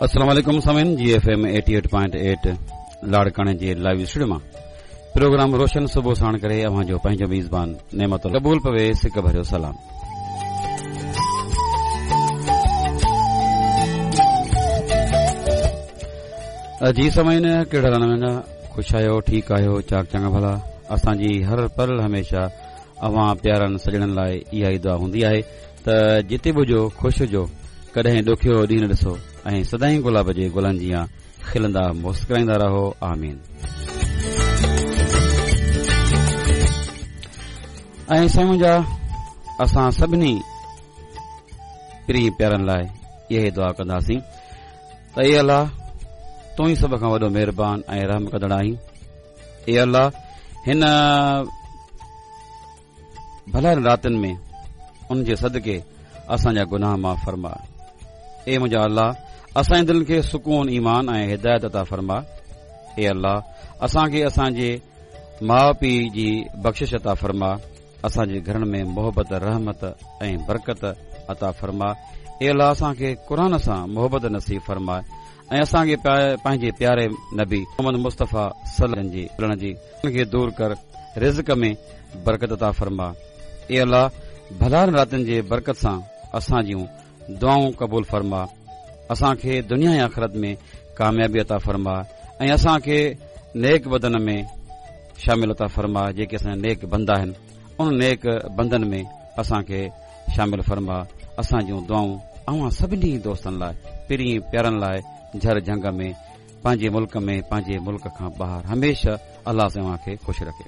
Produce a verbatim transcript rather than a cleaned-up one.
अस्सलाम वालेकुम सामीन, जी एफ एम अठासी पॉइंट आठ लाड़काणे जे लाइव स्टूडियो मां प्रोग्राम रोशन सुबह साण करे अव्हां जो पंहिंजो मेज़बान नेमत कबूल पवे सिक भरियो सलाम। जी सामीन, कहिड़ा रहा ख़ुशि आहियो, ठीकु आहियो, चाक चङा भला। असांजी हर पल हमेशा अव्हां प्यारनि सॼणनि लाइ इहा ई दुआ हूंदी आहे त जिते बि हुजो ख़ुशि हुजो, कॾहिं ॾुखियो ॾींहुं न ॾिसो ऐं सदाईं गुलाब जे गुलनि जीअं खिलंदा मुस्कुराईंदा रहो। आमीन। ऐं साईं मुंहिंजा, असां सभिनी प्रीं प्यारनि लाइ इहा ई दुआ कंदासीं त ए अलाह, तूं ई सभ खां वॾो महिरबान ऐं रहम कंदड़ आहीं। ए अलाह, हिन भलानि रातियुनि में उन जे सदके असांजा गुनाह माफ़ फरमा। ए मुंहिंजा अलाह, असांजी दिलि खे सुकून, ईमान ऐं हिदायत अता फरमा। ए अलाह, असांखे असांजे माउ पीउ जी बख़्शिश अता फरमा। असांजे घरनि में मोहबत, रहमत ऐं बरकत अता फरमा। ए अलाह, असांखे क़ुर सां मोहबत नसीब फरमा ऐं असांखे पंहिंजे प्यारे नबी मोहम्मद मुस्तफ़ा सल्लल्लाहु जी मिलण जी खे दूर कर, रिज़्क में बरकत अता फरमा। ए अलाह, भलानि रातियुनि जे बरकत सां असां जूं दुआऊं कबूल फरमा। असांखे दुनिया ऐं आख़िरत में कामयाबी अता फरमा ऐं असांखे नेक बदन में शामिल अता फरमा। जेके असांजा नेक बंदा आहिनि उन नेक बंदनि में असांखे शामिल फरमा। असां जूं दुआऊं अव्हां सभिनी दोस्तनि लाइ, पिरीं प्यारनि लाइ, झर झंग में, पंहिंजे मुल्क में, पंहिंजे मुल्क खां ॿाहिरि हमेशह अलाह साईं अव्हां खे ख़ुशि रखे।